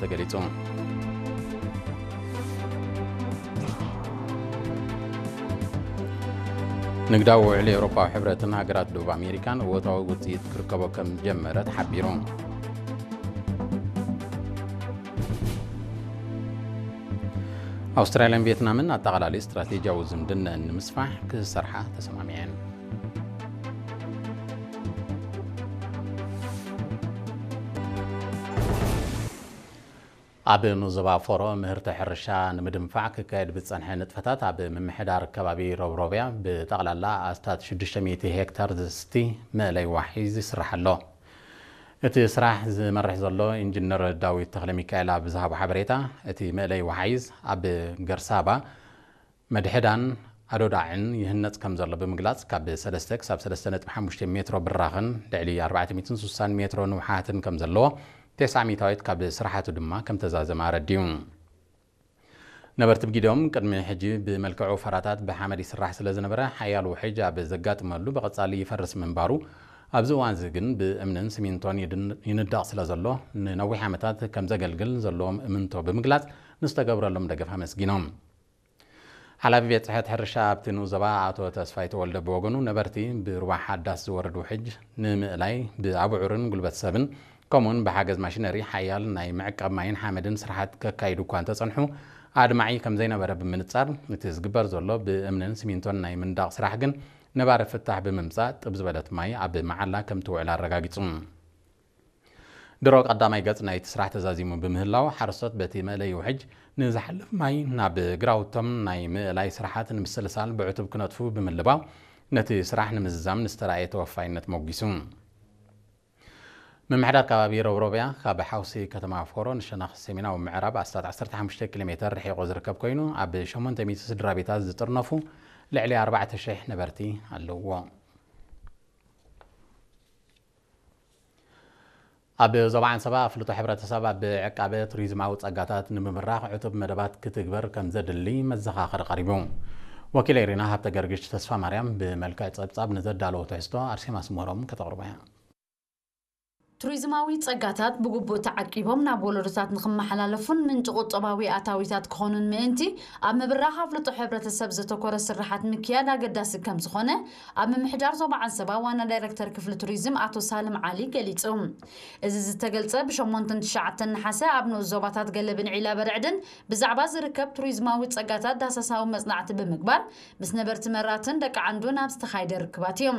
ተገሊጹ። ንግዳዊ ውዕል ኤውሮጳዊ ሕብረትን ሃገራት ደቡብ ኣሜሪካን እወታዊ ውጽኢት ክርከቦ ከም ዝጀመረ ተሓቢሩ። ኣውስትራልያን ቪየትናምን ኣጠቓላሊ ስትራቴጂያዊ ዝምድነአን ንምስፋሕ ክሰርሓ ተሰማሚዐን። ኣብ ንዞባ ፎሮ ምህርቲ ሕርሻ ንምድንፋዕ ክካየድ ብዝጸንሐ ንጥፈታት ኣብ ምምሕዳር ከባቢ ሮብሮብያ ብጠቕላላ ኣስታት ሽዱሽተ ሚእቲ ሄክታር ዝስቲ መእለይ ዋሒዝ ይስራሕ ኣሎ። እቲ ስራሕ ዝመርሕ ዘሎ ኢንጂነር ዳዊት ተኽለ ሚካኤል ኣብ ዝሃቦ ሓበሬታ፣ እቲ መእለይ ዋሒዝ ኣብ ገርሳባ መድሕዳን ኣዶዳዕን ይህነጽ ከም ዘሎ ብምግላጽ፣ ካብ ሰለስተ ክሳብ ሰለስተ ነጥቢ ሓሙሽተ ሜትሮ ብራኽን ልዕሊ ኣርባዕተ ሚእትን ስሳን ሜትሮ ንውሓትን ከም ዘለዎ፣ ተስዓ ሚእታዊት ካብ ስራሓቱ ድማ ከም ተዛዘመ ኣረዲኡ። ነበርቲ ብጊዶም ቅድሚ ሕጂ ብመልክዕ ወፈራታት ብሓመድ ይስራሕ ስለ ዝነበረ፣ ሓያል ውሕጅ ኣብ ዘጋጥመሉ ብቐጻሊ ይፈርስ ምንባሩ፣ ኣብዚ እዋን እዚ ግን ብእምንን ሲሚንቶን ይድን-፣ ይንደቕ ስለ ዘሎ፣ ንነዊሕ ዓመታት ከም ዘገልግል ዘለዎም እምንቶ ብምግላጽ፣ ንዝተገብረሎም ደገፍ ኣመስጊኖም። ሓላፊ ቤት ጽሕፈት ሕርሻ ኣብቲ ንኡስ ዞባ ኣቶ ተስፋይ ተወልደ ብወገኑ፣ ነበርቲ ብሩባ ሓዳስ ዝወርድ ውሕጅ ንምእላይ ብኣቡዑርን ጉልበት ሰብን ከምኡውን ብሓገዝ ማሽነሪ ሓያል ናይ ምዕቃብ ማይን ሓመድን ስራሓት ከካይዱ እኳ እንተጸንሑ፣ ኣድማዒ ከም ዘይነበረ ብምንጻር፣ እቲ ዝግበር ዘሎ ብእምንን ሲሚንቶን ናይ ምንዳቕ ስራሕ ግን ነባሪ ፍታሕ ብምምጻእ፣ ጥብ ዝበለት ማይ ኣብ መዓላ ከም ትውዕል ኣረጋጊጹ። ድሮ ቀዳማይ ገጽ ናይቲ ስራሕ ተዛዚሙ ብምህላው፣ ሓረስቶት በቲ መእለዪ ውሕጅ ንዝሓልፍ ማይ ናብ ግራውቶም ናይ ምእላይ ስራሓት ንምስልሳል ብዕቱብ ክነጥፉ ብምልባው፣ ነቲ ስራሕ ንምዝዛም ንዝተራእየ ተወፋይነት ሞጒሱ። ምምሕዳር ከባቢ ሮብሮብያ፣ ካብ ሓውሲ ከተማ ፎሮ ንሸነኽ ሰሜናዊ ምዕራብ ኣስታት ዓሰርተ ሓሙሽተ ኪሎ ሜተር ርሒቑ ዝርከብ ኮይኑ፣ ኣብ ሸሞንተ ሚእቲ ስድራ ቤታት ዝጥርነፉ ልዕሊ ኣርባዕተ ሽሕ ነበርቲ ኣለውዎ። ኣብ ዞባ ዓንሰባ ኣፍልጦ ሕብረተሰብ ኣብ ዕቃበ ቱሪዝማዊ ጸጋታት ንምብራኽ ዕቱብ መደባት ክትግበር ከም ዘድሊ መዘኻኸሪ ቀሪቡ። ወኪለይ ሪና ሃብተ ገርግሽ ተስፋ ማርያም ብመልክዕ ጸብጻብ ንዘዳለዎ ትሕዝቶ ኣርሴማ ስመሮም ከተቕርቦ እያ። ቱሪዝማዊ ጸጋታት ብግቡእ ተዓቂቦም ናብ ወለዶታት ንኽመሓላለፉን ምንጪ ቁጠባዊ ኣታዊታት ክኾኑን ምእንቲ፣ ኣብ ምብራኽ ኣፍልጦ ሕብረተሰብ ዘተኮረ ስርሓት ምክያድ ኣገዳሲ ከም ዝኾነ፣ ኣብ ምምሕዳር ዞባ ዓንሰባ ዋና ዳይረክተር ክፍሊ ቱሪዝም ኣቶ ሳልም ዓሊ ገሊጹ። እዚ ዝተገልጸ ብሸሞንተን ትሽዓተን ነሓሰ ኣብ ንኡስ ዞባታት ገለብን ዒላ በርዕድን ብዛዕባ ዝርከብ ቱሪዝማዊ ጸጋታት ዳህሳሳዊ መጽናዕቲ ብምግባር፣ ምስ ነበርቲ መራትን ደቂ ዓንዱን ኣብ ዝተኻየደ ርክባት እዩ።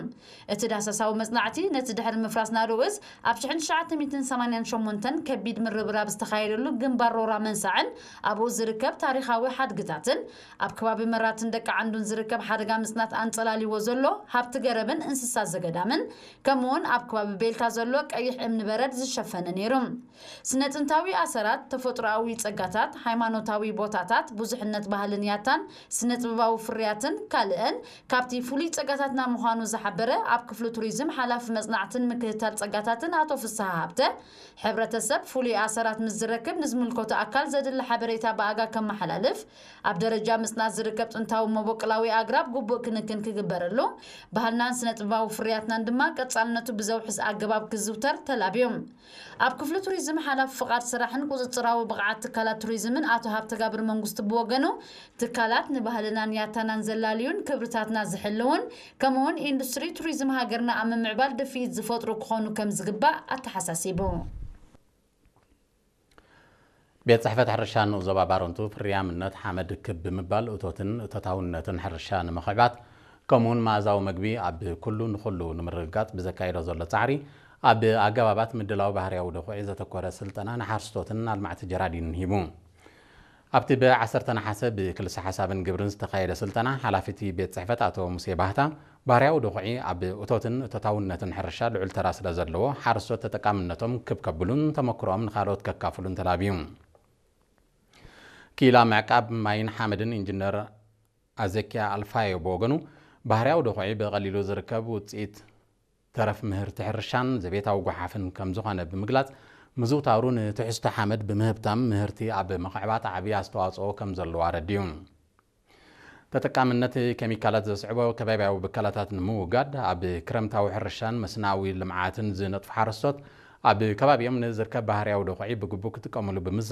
እቲ ዳህሳሳዊ መጽናዕቲ፣ ነቲ ድሕሪ ምፍራስ ናድኡ እዝ ኣብ ሽሕን ትሽዓተ ሚእትን ሰማንያን ሸሞንተን ከቢድ ምርብራብ ዝተኻየደሉ ግንባር ሮራ መንሳዕን ኣብኡ ዝርከብ ታሪኻዊ ሓድግታትን፣ ኣብ ከባቢ መራትን ደቂ ዓንዱን ዝርከብ ሓደጋ ምጽናት ኣንጸላልይዎ ዘሎ ሃብቲ ገረብን እንስሳ ዘገዳምን፣ ከምኡውን ኣብ ከባቢ ቤልታ ዘሎ ቀይሕ እምኒ በረድ ዝሸፈነ ነይሩ። ስነ ጥንታዊ ኣሰራት፣ ተፈጥሮኣዊ ጸጋታት፣ ሃይማኖታዊ ቦታታት፣ ብዙሕነት ባህልን ያታን፣ ስነ ጥበባዊ ፍርያትን ካልእን ካብቲ ፍሉይ ጸጋታትና ምዃኑ ዝሓበረ ኣብ ክፍሊ ቱሪዝም ሓላፊ መጽናዕትን ምክትታል ጸጋታትን ኣቶ ፍስሃ ሃብተ፣ ሕብረተሰብ ፍሉይ ኣሰራት ምስ ዝረክብ ንዝምልከቶ ኣካል ዘድሊ ሓበሬታ ብኣጋ ከመሓላልፍ፣ ኣብ ደረጃ ምጽናት ዝርከብ ጥንታዊ መበቆላዊ ኣግራብ ግቡእ ክንክን ክግበረሉ፣ ባህልናን ስነ ጥበባዊ ፍርያትናን ድማ ቀጻልነቱ ብዘውሕስ ኣገባብ ክዝውተር ተላብዮም። ኣብ ክፍሊ ቱሪዝም ሓላፊ ፍቓድ ስራሕን ቁጽጽራዊ ብቕዓት ትካላት ቱሪዝምን ኣቶ ሃብተጋብር መንግስቱ ብወገኑ፣ ትካላት ንባህልናን ያታናን ዘላልዩን ክብርታትና ዝሕልውን፣ ከምኡውን ኢንዱስትሪ ቱሪዝም ሃገርና ኣብ ምምዕባል ድፍኢት ዝፈጥሩ ክኾኑ ከም ዝግባእ ኣተሓሳሲቡ። ቤት ጽሕፈት ሕርሻ ንኡስ ዞባ ባረንቱ፣ ፍርያምነት ሓመድ ክብ ብምባል እቶትን እቶታውነትን ሕርሻ ንምኽዕባት፣ ከምኡውን መኣዛዊ መግቢ ኣብ ኩሉ ንኹሉ ንምርግጋጽ ብዘካየዶ ዘሎ ጻዕሪ፣ ኣብ ኣገባባት ምድላው ባህርያዊ ደኹዒ ዘተኮረ ስልጠና ንሓረስቶትን ኣልማዕቲ ጀራዲንን ሂቡ። ኣብቲ ብዓሰርተ ነሓሰ ብክልሰ ሓሳብን ግብርን ዝተኻየደ ስልጠና፣ ሓላፊ እቲ ቤት ጽሕፈት ኣቶ ሙሴ ባህታ፣ ባህርያዊ ደኹዒ ኣብ እቶትን እቶታውነትን ሕርሻ ልዑል ተራ ስለ ዘለዎ፣ ሓረስቶት ተጠቃምነቶም ክብ ከብሉን ተመክሮኦም ንኻልኦት ከካፍሉን ተላብዩ። ክኢላ ምዕቃብ ማይን ሓመድን ኢንጂነር ኣዘኪያ ኣልፋዮ ብወገኑ፣ ባህርያዊ ደኹዒ ብቐሊሉ ዝርከብ ውጽኢት ተረፍ ምህርቲ ሕርሻን ዘቤታዊ ጓሓፍን ከም ዝኾነ ብምግላጽ፣ ምዝውታሩ ንትሕዝቶ ሓመድ ብምህብታም ምህርቲ ኣብ ምኽዕባት ዓቢ ኣስተዋጽኦ ከም ዘለዎ ኣረዲኡ። ተጠቃምነት ኬሚካላት ዘስዕቦ ከባብያዊ ብከላታት ንምውጋድ፣ ኣብ ክረምታዊ ሕርሻን መስናዊ ልምዓትን ዝነጥፉ ሓረስቶት፣ ኣብ ከባቢኦም ንዝርከብ ባህርያዊ ደኹዒ ብግቡእ ክጥቀሙሉ ብምዝ